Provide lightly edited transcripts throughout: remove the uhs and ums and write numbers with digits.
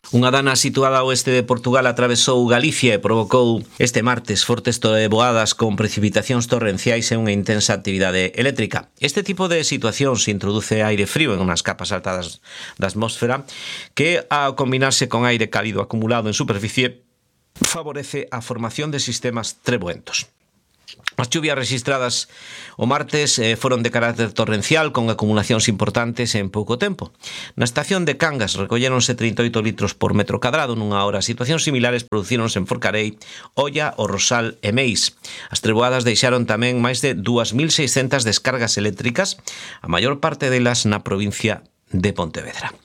Unha dana situada ao oeste de Portugal atravesou Galicia e provocou este martes fortes trovoadas con precipitacións torrenciais e unha intensa actividade eléctrica. Este tipo de situacións introduce aire frío en unhas capas altas da atmósfera que, ao combinarse con aire cálido acumulado en superficie, favorece a formación de sistemas treboentos. As chuvias registradas o martes foron de carácter torrencial con acumulacións importantes en pouco tempo. Na estación de Cangas recolléronse 38 litros por metro cadrado nunha hora. Situacións similares producíronse en Forcarei, Oia, O Rosal e Meis. As treboadas deixaron tamén máis de 2.600 descargas eléctricas, a maior parte delas na provincia de Pontevedra.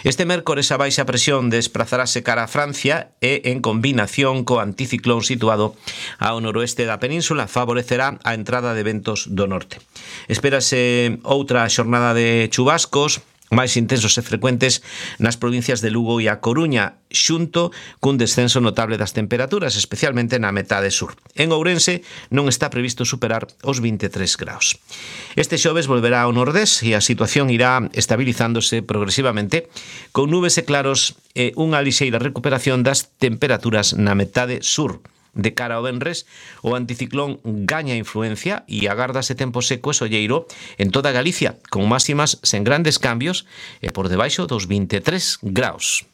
Este mércores a baixa presión desplazarase cara a Francia e, en combinación co anticiclón situado ao noroeste da península, favorecerá a entrada de ventos do norte. Espérase outra xornada de chubascos máis intensos e frecuentes nas provincias de Lugo e A Coruña, xunto cun descenso notable das temperaturas, especialmente na metade sur. En Ourense non está previsto superar os 23 graus. Este xoves volverá ao nordés e a situación irá estabilizándose progresivamente, con nubes e claros e unha lixeira recuperación das temperaturas na metade sur. De cara ao venres, o anticiclón gaña influencia e agárdase tempo seco e solleiro en toda Galicia, con máximas sen grandes cambios e por debaixo dos 23 graus.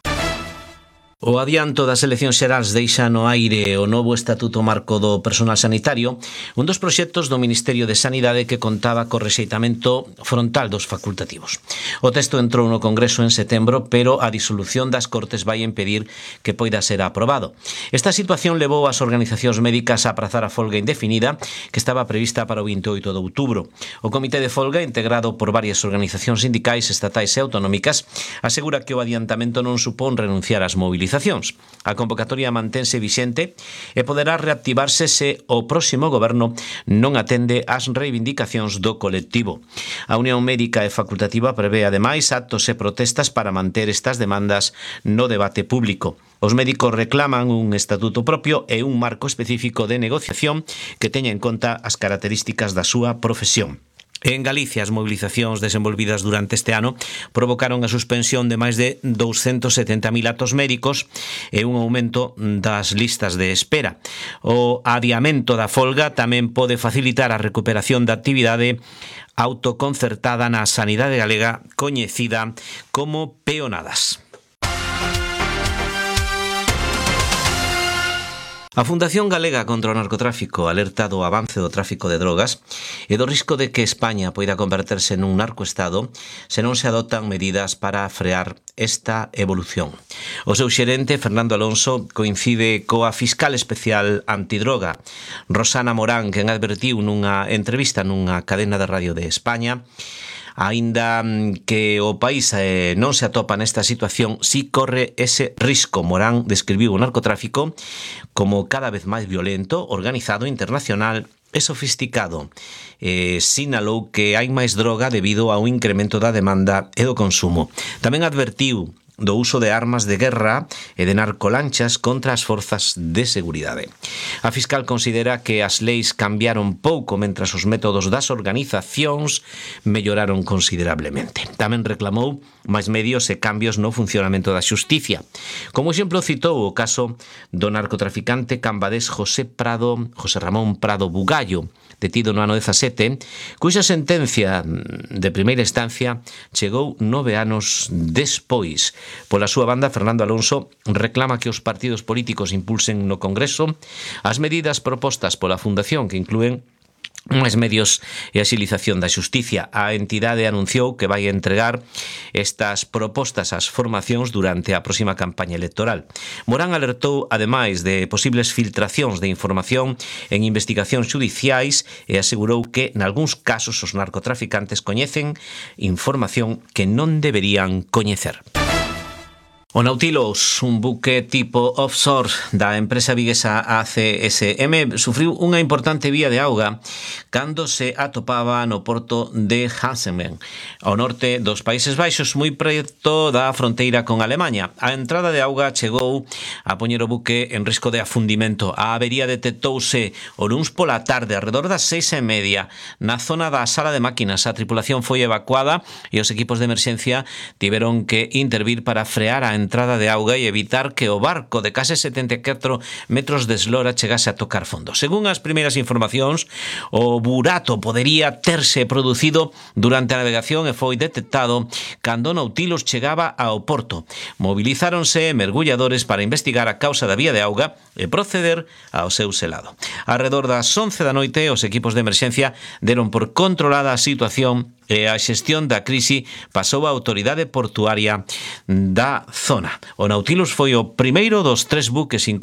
O adianto das eleccións xerais deixa no aire o novo Estatuto Marco do Personal Sanitario, un dos proxectos do Ministerio de Sanidade que contaba co rexeitamento frontal dos facultativos. O texto entrou no Congreso en setembro, pero a disolución das Cortes vai impedir que poida ser aprobado. Esta situación levou as organizacións médicas a aprazar a folga indefinida que estaba prevista para o 28 de outubro. O Comité de Folga, integrado por varias organizacións sindicais, estatais e autonómicas, asegura que o adiantamento non supón renunciar ás movilizacións. A convocatoria mantense vixente e poderá reactivarse se o próximo goberno non atende ás reivindicacións do colectivo. A Unión Médica e Facultativa prevé ademais actos e protestas para manter estas demandas no debate público. Os médicos reclaman un estatuto propio e un marco específico de negociación que teña en conta as características da súa profesión. En Galicia, as movilizacións desenvolvidas durante este ano provocaron a suspensión de máis de 270.000 actos médicos e un aumento das listas de espera. O adiamento da folga tamén pode facilitar a recuperación da actividade autoconcertada na sanidade galega coñecida como peonadas. A Fundación Galega contra o Narcotráfico alerta do avance do tráfico de drogas e do risco de que España poida converterse nun narcoestado se non se adoptan medidas para frear esta evolución. O seu xerente, Fernando Alonso, coincide coa fiscal especial antidroga, Rosana Morán, quen advertiu nunha entrevista nunha cadena de radio de España, aínda que o país non se atopa nesta situación, si corre ese risco. Morán describiu o narcotráfico como cada vez máis violento, organizado, internacional e sofisticado. Sinalou que hai máis droga debido ao incremento da demanda e do consumo. Tamén advertiu do uso de armas de guerra e de narcolanchas contra as forzas de seguridade. A fiscal considera que as leis cambiaron pouco mentras os métodos das organizacións melloraron considerablemente. Tamén reclamou máis medios e cambios no funcionamento da xusticia. Como exemplo citou o caso do narcotraficante cambadés José Ramón Prado Bugallo, detido no ano 17, cuxa sentencia de primeira instancia chegou 9 anos despois. Pola súa banda, Fernando Alonso reclama que os partidos políticos impulsen no Congreso as medidas propostas pola Fundación, que inclúen máis medios e axilización da xusticia. A entidade anunciou que vai entregar estas propostas ás formacións durante a próxima campaña electoral. Morán alertou, ademais, de posibles filtracións de información en investigacións xudiciais e asegurou que, nalgúns casos, os narcotraficantes coñecen información que non deberían coñecer. O Nautilus, un buque tipo offshore da empresa viguesa ACSM, sufriu unha importante vía de auga cando se atopaba no porto de Hansemen, ao norte dos Países Baixos, moi preto da fronteira con Alemaña. A entrada de auga chegou a poñer o buque en risco de afundimento. A avería detectouse o luns pola tarde, alrededor das 6:30, na zona da sala de máquinas. A tripulación foi evacuada e os equipos de emerxencia tiveron que intervir para frear a entrada de auga e evitar que o barco de case 74 metros de eslora chegase a tocar fondo. Según as primeiras informacións, o burato podería terse producido durante a navegación e foi detectado cando o Nautilus chegaba ao porto. Movilizáronse mergulladores para investigar a causa da vía de auga e proceder ao seu selado. Arredor das 11 da noite, os equipos de emerxencia deron por controlada a situación e a xestión da crise pasou á autoridade portuaria da zona. O Nautilus foi o primeiro dos 3 buques incorporados